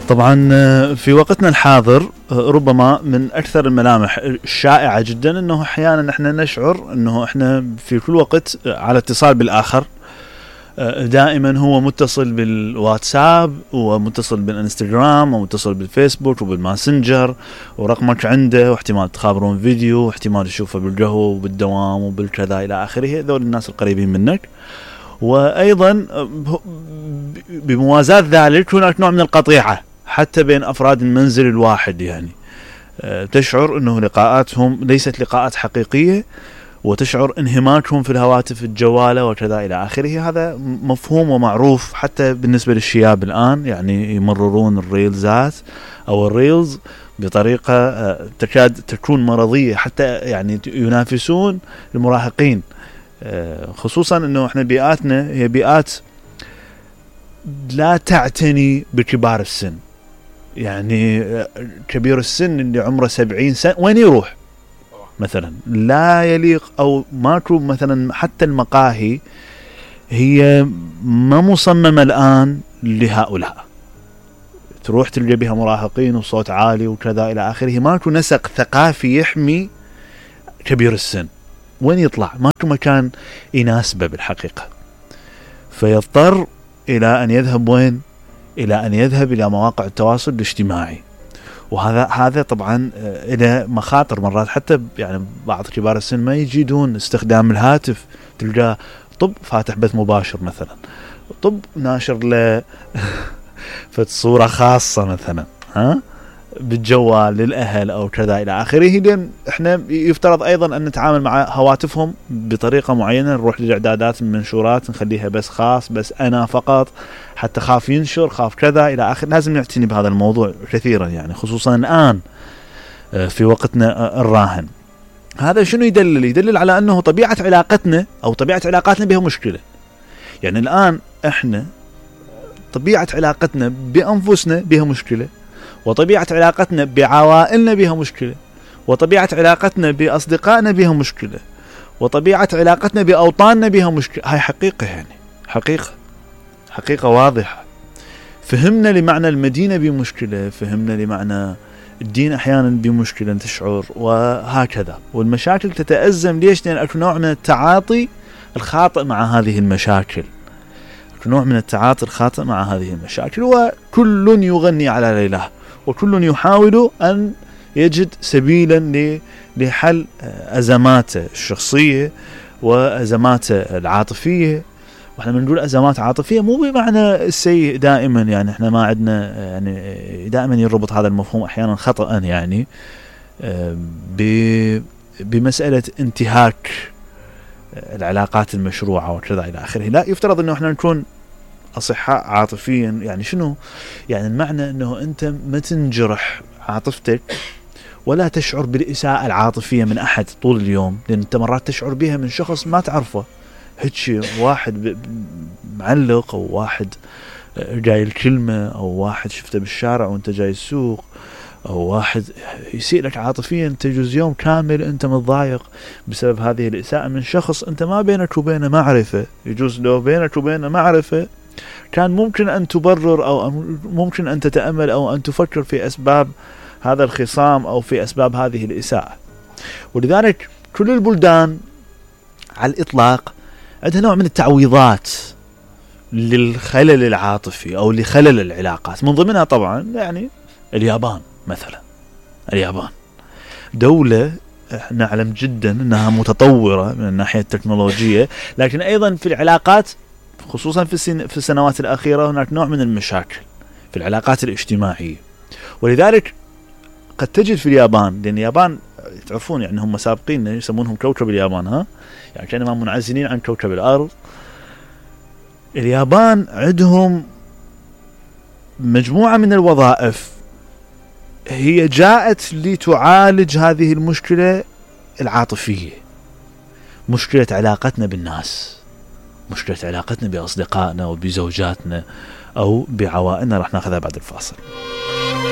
طبعا في وقتنا الحاضر ربما من أكثر الملامح الشائعة جدا أنه أحيانا احنا نشعر أنه احنا في كل وقت على اتصال بالآخر، دائما هو متصل بالواتساب ومتصل بالانستغرام ومتصل بالفيسبوك وبالماسنجر ورقمك عنده، واحتمال تخابرون فيديو واحتمال تشوفه بالقهوة وبالدوام وبالكذا إلى آخره، ذول الناس القريبين منك. وأيضا بموازاة ذلك هناك نوع من القطيعة حتى بين أفراد المنزل الواحد، يعني تشعر أنه لقاءاتهم ليست لقاءات حقيقية، وتشعر انهماكهم في الهواتف الجوالة وكذا إلى آخره. هذا مفهوم ومعروف حتى بالنسبة للشياب الآن، يعني يمررون الريلزات أو الريلز بطريقة تكاد تكون مرضية، حتى يعني ينافسون المراهقين، خصوصا أنه احنا بيئاتنا هي بيئات لا تعتني بكبار السن. يعني كبير السن اللي عمره 70 سنة وين يروح مثلا؟ لا يليق، أو ماكو مثلا حتى المقاهي هي ما مصممة الآن لهؤلاء، تروح تلقى بها مراهقين وصوت عالي وكذا إلى آخره، ماكو نسق ثقافي يحمي كبير السن. وين يطلع؟ ماكو مكان يناسبه بالحقيقة، فيضطر إلى أن يذهب وين؟ إلى أن يذهب إلى مواقع التواصل الاجتماعي. وهذا طبعا إلى مخاطر مرات، حتى يعني بعض كبار السن ما يجيدون استخدام الهاتف، تلقاه طب فاتح بث مباشر مثلا، طب ناشر له فصورة خاصة مثلا بالجوال للأهل أو كذا إلى آخره. لأن إحنا يفترض أيضا أن نتعامل مع هواتفهم بطريقة معينة، نروح للإعدادات المنشورات نخليها بس خاص، بس أنا فقط، حتى خاف ينشر، خاف كذا إلى آخر. لازم نعتني بهذا الموضوع كثيرا، يعني خصوصا الآن في وقتنا الراهن. هذا شنو يدلل؟ يدلل على أنه طبيعة علاقتنا أو طبيعة علاقاتنا بها مشكلة. يعني الآن إحنا طبيعة علاقتنا بأنفسنا بها مشكلة، وطبيعة علاقتنا بعوائلنا بها مشكلة، وطبيعة علاقتنا بأصدقائنا بها مشكلة، وطبيعة علاقتنا بأوطاننا بها مشكلة. هاي حقيقة، يعني حقيقة واضحة. فهمنا لمعنى المدينة بمشكلة، فهمنا لمعنى الدين أحيانا بمشكلة تشعر، وهكذا. والمشاكل تتأزم. ليش؟ لأن أكو نوع من التعاطي الخاطئ مع هذه المشاكل، وكل يغني على ليلاه، وكل يحاول أن يجد سبيلا لحل أزماته الشخصية وأزماته العاطفية. وإحنا بنقول أزمات عاطفية مو بمعنى السيء دائما، يعني إحنا ما عندنا، يعني دائما يربط هذا المفهوم أحيانا خطأ يعني بمسألة انتهاك العلاقات المشروعة وكذا إلى آخره. لا، يفترض أنه إحنا نكون أصحاء عاطفيا. يعني شنو؟ يعني المعنى أنه أنت ما تنجرح عاطفتك ولا تشعر بالإساءة العاطفية من أحد طول اليوم، لأن أنت مرات تشعر بها من شخص ما تعرفه، هيك واحد معلق، أو واحد جاي الكلمة، أو واحد شفته بالشارع وأنت جاي السوق، أو واحد يسيء لك عاطفيا، تجوز يوم كامل أنت متضايق بسبب هذه الإساءة من شخص أنت ما بينك وبينه معرفة. يجوز لو بينك وبينه معرفة كان ممكن أن تبرر، أو ممكن أن تتأمل، أو أن تفكر في أسباب هذا الخصام أو في أسباب هذه الإساءة. ولذلك كل البلدان على الإطلاق عندها نوع من التعويضات للخلل العاطفي أو لخلل العلاقات، من ضمنها طبعا يعني اليابان مثلا. اليابان دولة نعلم جدا أنها متطورة من الناحية التكنولوجية، لكن أيضا في العلاقات، خصوصا في السنوات الأخيرة، هناك نوع من المشاكل في العلاقات الاجتماعية. ولذلك قد تجد في اليابان، لأن اليابان تعرفون يعني هم سابقين، يسمونهم كوكب اليابان، يعني كانوا منعزلين عن كوكب الأرض. اليابان عندهم مجموعة من الوظائف هي جاءت لتعالج هذه المشكلة العاطفية، مشكلة علاقتنا بالناس، مشكلة علاقتنا بأصدقائنا وبزوجاتنا أو بعوائلنا. رح ناخذها بعد الفاصل.